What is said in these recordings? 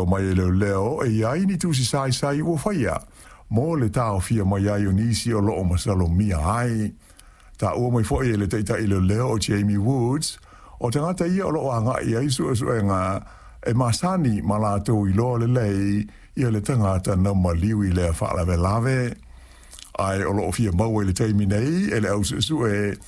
Mai e leoleo e iai ni tusi saisai ua faia mo le taofia mai ai o nisi o loo masalomia ai. Taua mai foi e le taitai leoleo o Jamie Woods, o tagata ia o loo agai i ai suesuega e masani ma latou iloa lelei ia le tagata na maliu i lea faalavelave. Ae o loo fia maua i le taimi nei e le au suesue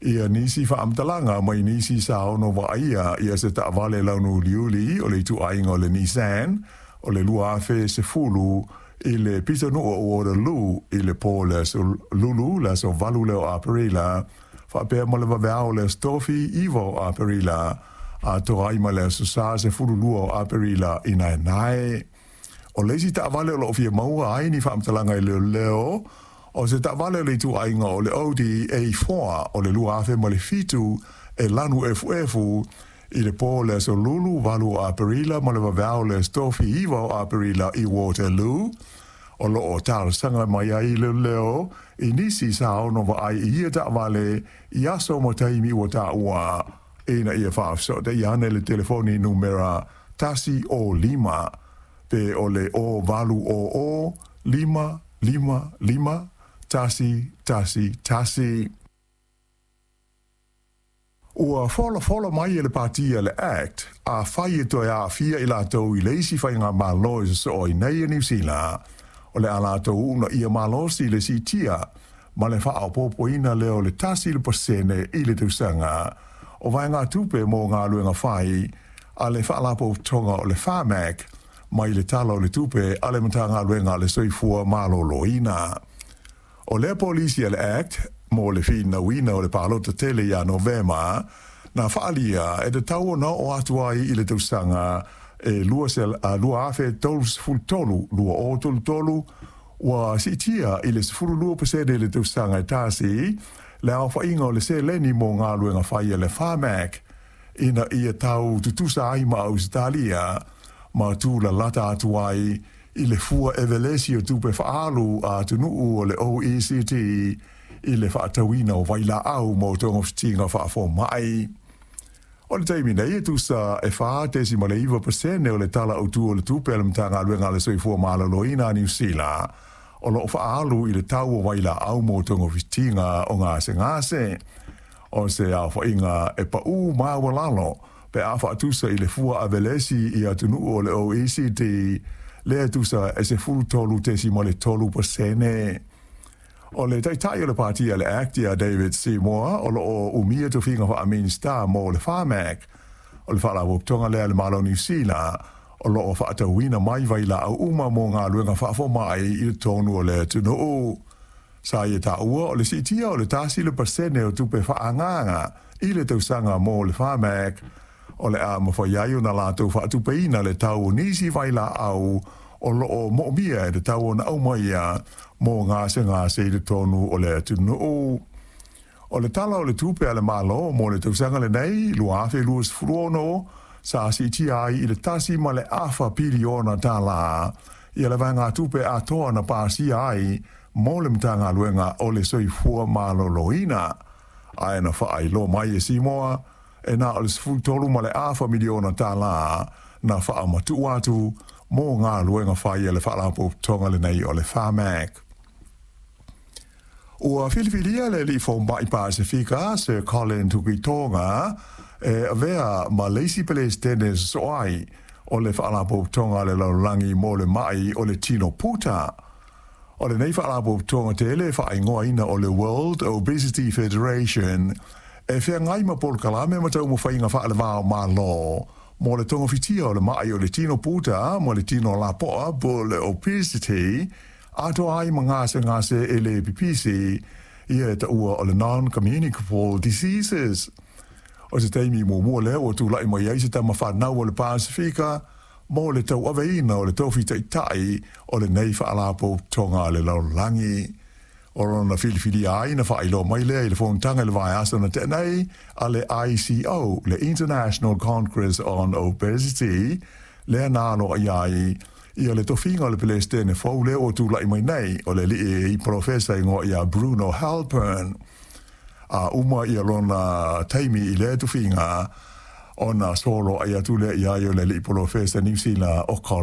ia nisi faamatalaga mai nisi sa ono vaaia ia se taavale launu uliuli o le ituaiga o le Nissan o le 2010 i le pitonuu o Waterloo i le po o le aso Lulu le aso 8 lea o Aperila, faapea ma le vaveao o le aso Tofi 9 o Aperila, atoa ai ma le aso Sa 12 o Aperila i naenae. O le isi taavale o loo fia maua ai ni faamatalaga i leoleo, o se taavale o le ituaiga o le Audi A4 o le 2007 e lanu efuefu i le po o le aso Lulu 8 o Aperila ma le vaveao o le aso Tofi 9 o Aperila i Waterloo. O loo talosaga mai ai leoleo i nisi sa ono vaai i ia taavale i aso ma taimi ua taua, ina ia faafesootai ane i le telefoni numera 105 pe o le 0800 555 111. Ua folafola mai e le pati a le ACT, afai e toe aafia i latou i le isi faigamalo e sosoo ai nei a Niu Sila, o le a latou uunaia malosi le siitia ma le faaopoopoina lea o le 1% i le tausaga o vaegatupe mo galuega fai a le faalapotopotoga o le Pharmac mai le Tala o le Tupe a le Matagaluega a le Soifua Maloloina. O lea polisi a le ACT mo le finauina o le palota tele ia Novema na faaalia e tatau ona oo atu ai i le tausaga e 2033, 2033, ua siitia i le 12% i le tausaga e tasi le aofaiga o le seleni mo galuega fai a le Pharmac ina ia tau tutusa ai ma Ausetalia ma tulalata atu ai i le fua evelesi o tupe faaalu a atunuu o le OECD i le faatauina o vailaau mo togafitiga faafomai. O le taimi nei e tusa e 4.9% o le Tala Autu o le Tupe a le Matagaluega a le Soifua Maloloina a Niu Sila o loo faaalu i le tau o vailaau mo togafitiga o gasegase. O se aofaiga e pau maualalo pe a faatusa i le fua avelesi i atunuu o le OECD lea e tusa e 13.3%. O le taitai o le pati a le ACT ia David Seymour o loo umia tofiga faa-Minisita mo le Pharmac, o le faalapotopotoga lea a le Malo o Niu Sila o loo faatauina mai vailaau uma mo galuega faafomai i totonu o le atunuu. Sa ia taua o le siitia o le 1% o tupe faaagaaga i le tausaga mo le Pharmac o le a mafai ai ona latou faatupeina le tau o nisi vailaau o loo moomia e tatau ona aumaia mo gasegase i totonu o le atunuu. O le Tala o le Tupe a le Malo mo le tausaga lenei 2026 sa siitia ai i le 1.5 piliona tala ia le vaegatupe atoa na pasia ai mo le Matagaluega o le Soifua Maloloina, ae na faailoa mai e Seymour e na o le 13.5 miliona tala na faamatuu atu mo galuega fai a le faalapotopotoga lenei o le Pharmac. Ua filifilia le alii fomai Pasefika Sir Colin Tukuitonga e avea ma le isi Peresetene sosoo ai o le Faalapotopotoga a le Lalolagi mo le Mai o le Tino Puta. O lenei faalapotopotoga tele e faaigoaina o le World Obesity Federation e feagai ma polokalame ma taumafaiga faalevao malo mo le togafitia o le mai o le tino puta ma le tino lapoa po o le obesity, atoa ai ma gasegase e le pipisi ia e taua o le non-communicable diseases. O se taimi muamua lea ua tulai mai ai se tama fanau o le Pasefika mo le tauaveina o le tofi taitai o lenei faalapotopotoga a le lalolagi. O lona filifilia ai na faailoa mai lea i le fonotaga i le vaiaso na tea nei a le ICO, le International Congress on Obesity, lea na aloaia ai ia le tofiga o le Peresetene fou lea ua tulai mai nei, o le alii polofesa igoa ia Bruno Halpern. A uma ia lona taimi i lea tofiga, ona soloai atu lea ia i o le alii polofesa Niu Sila o Colin.